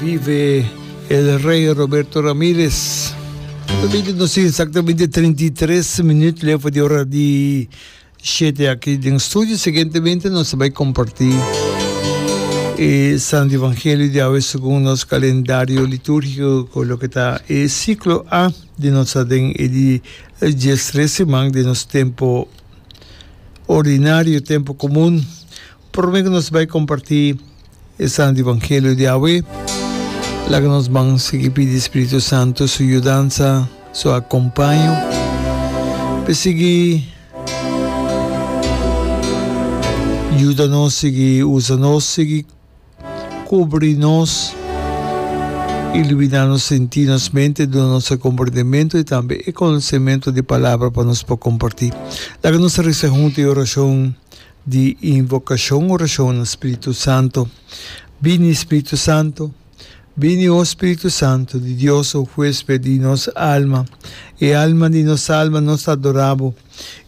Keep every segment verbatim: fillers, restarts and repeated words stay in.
Vive el Rey Roberto Ramirez. Nos tin exactamente trinta i tres minuut leu for di ora di shete aki den studio. Siguientemente nos ta bai comparti e Santo Evangelio di awe segun nos calendario liturgico cu loke ta e ciclo A di nos ta den e di diestres siman di nos tempo ordinario, tempo comun. Prome ku nos bai kompartí e Santu Evangelio di awe, laga nos ban sigui pidi Spiritu Santu su yudansa, su akompaño, pa e sigui yuda nos, sigui usa nos, sigui kubri nos, iluminá nos sentí, nos mente, duna nos e komprendementu i tambe e konosementu di Palabra pa nos por kompartí. Laga nos resa huntu e orashon Di invokashon orashon na Spiritu Santo. Bini Spiritu Santo, bini o Spiritu Santo di Dios o huesped di nos alma, e alma di nos alma nos ta adora bo.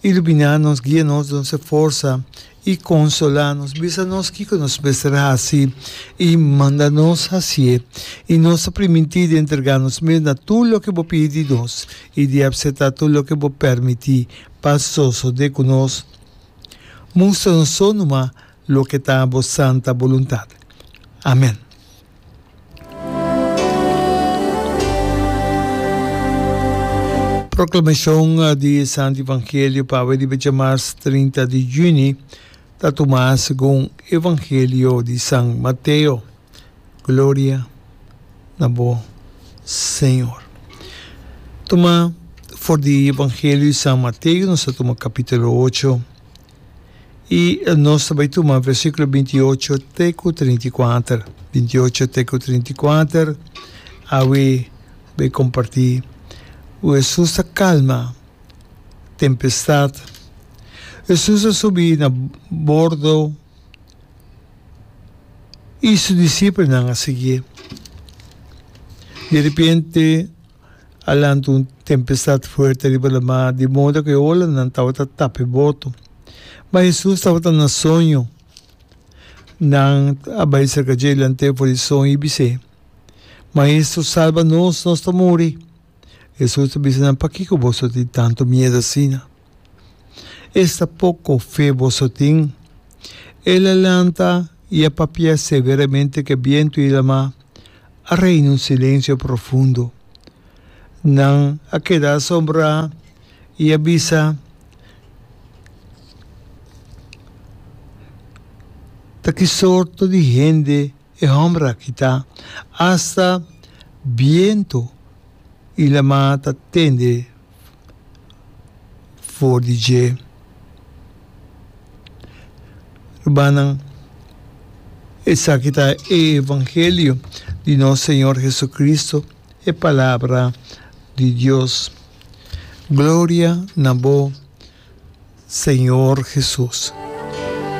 Ilumina nos, guia nos, duna nos e forsa i konsola nos, bisa nos kiko nos mester hasi i manda nos hasié. I nos ta primintí di entrega nos mes na tur loke bo pidi di nos i di apseptá tur loke bo permití pa sosodé ku nos. Mustra nos so numa loke ta bo santa boluntat. Amen. Proklamashon di e Santu Evangelio pa awe riba djamars trinta di juni ta tumá segun Evangelio di San Mateo. Gloria na bo, Señor. Tuma for di Evangelio di San Mateo, nos ta tuma capítulo ocho y nos ta bai tuma versículo binti i ocho te cu trinta i kuater. Binti i ocho te cu trinta i kuater, awe bai comparti cu Hesus ta calma tempestad. Hesus a subi na bordo. I su disipelnan a siguié. Di repente a lanta un tempestat fuerte riba lamar, di moda ku e olanan tabata tapa e boto. Ma Hesus tabata na soño. Nan a bai serka dje lant'é for di soño i bis'é, Maestro, salba nos, nos ta muri! Hesus ta bisa nan, Pakiko boso tin tantu miedu asina? Esta poko fe boso tin! El a lanta i a papia severamente ku e bientu i lamá. A reina un silensio profundo. Nan a keda asombrá i a bisa, Ta ki sorto di hende e hòmber aki ta? Asta bientu i lamá ta tende for di dje. Rumannan, esaki ta e evangelio di nos Señor Jesucristo, e Palabra di Dios. Gloria na bo, Señor Jesus.